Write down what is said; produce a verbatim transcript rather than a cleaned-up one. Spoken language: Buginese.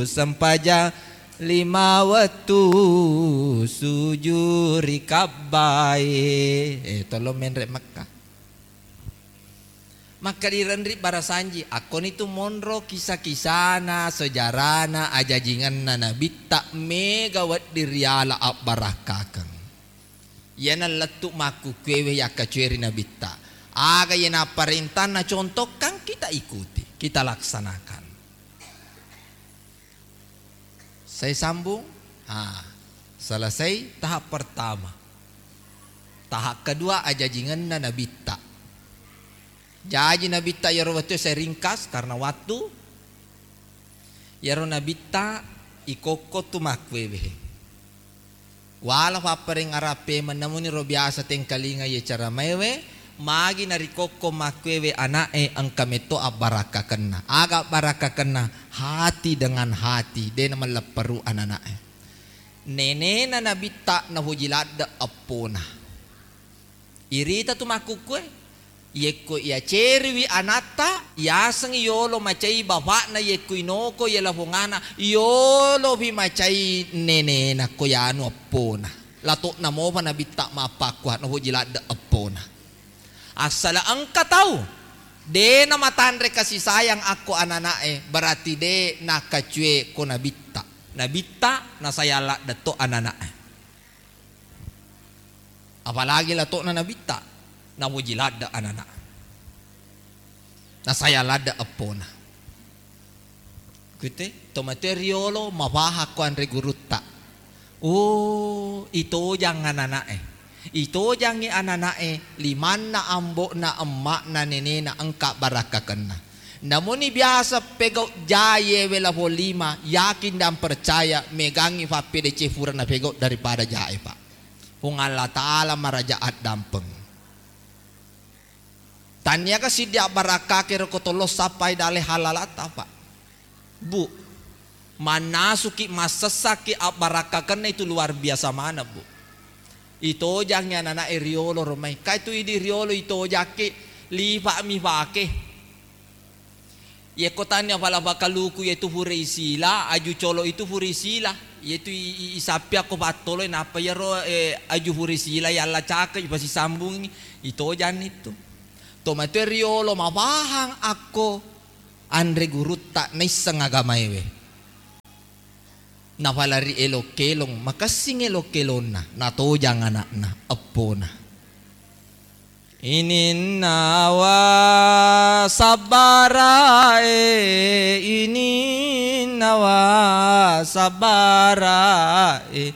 sempajang lima wettu sujuri kabbae. Eh, tolong menre' Mekka. Makkadireng ri barasanji, akkonitu monro kisa-kisana, sejarana, ajajingenna Nabitta mega wedding riala abbarakkakeng. Iyana lettu makkukkuewe yakkacueri Nabitta. Aga iya napparentanna contohkan, kita ikuti, kita laksanakan. Saya sambung. Ah, selesai tahap pertama. Tahap kedua, ajajingenna Nabitta. Jaji Nabitta iyaro wettu, saya ringkas karena waktu. Iyaro Nabitta ikokko tu makkuewe. Wala pappareng arappe mennamuni ro biasa tengkalinga ye cara maewe, magi narikokko makkuewe ana'e engka metto abbarakkakenna. Aga abbarakkakenna? Hati dengan hati, de namellepperu anana'e. Nenena Nabitta nafoji ladde eppona. Irita tu makkukkue, yekko iyaceriwi anatta, yasengngi yolo macai bapakna, yekko inoko iya lafongana, yolofi macai nenena ko yanu eppona. Lato'na mopa Nabitta mappakkua, nafoji ladde eppona. Assala engka tau de namatanre kasih sayang akko anana'e, berarti de nakacue ko Nabitta. Nabitta nasayang ladde to anana'e. Apalagi lato'na Nabitta, nafoji ladde anana. Nasayang ladde eppona. Kuite, tomatoe riolo mapahang ko anre gurutta. Oh, itojang anana'e. Itojangngi anana'e, limanna, ambo'na, emma'na, nenena engka barakkakenna. Namuni biasa pegau jae we lafo lima, yakin dan percaya megangngi fappedece fura napegau daripada jae, Pak. Puang Allah Ta'ala maraja addampeng. Taniaga siddi abbarakkake roko tollo sappai dale halalata, Pak. Bu, mannasuki, massessaki abbarakkakenna itu luar biasa maneng, Bu. Itojangngi anana'e riolo romai. Kai tu idi riolo itojakke, lipa'mi fake. Yekko tania fala fakaluku, yetu fure isila, aju colo itu fure isila. Yetu i, i, isappi akko pattolo, nappa yero, eh, aju fure isila yalla cake, ipasisambungi, itojanni tu. Tomatoe riolo mapahang akko anre gurutta naisseng agamaewe. Nafala ri elok-kelong, makessing elok-kelonna, natojang ana'na, eppona. Ininnawa sabbarae, ininnawa sabbarae.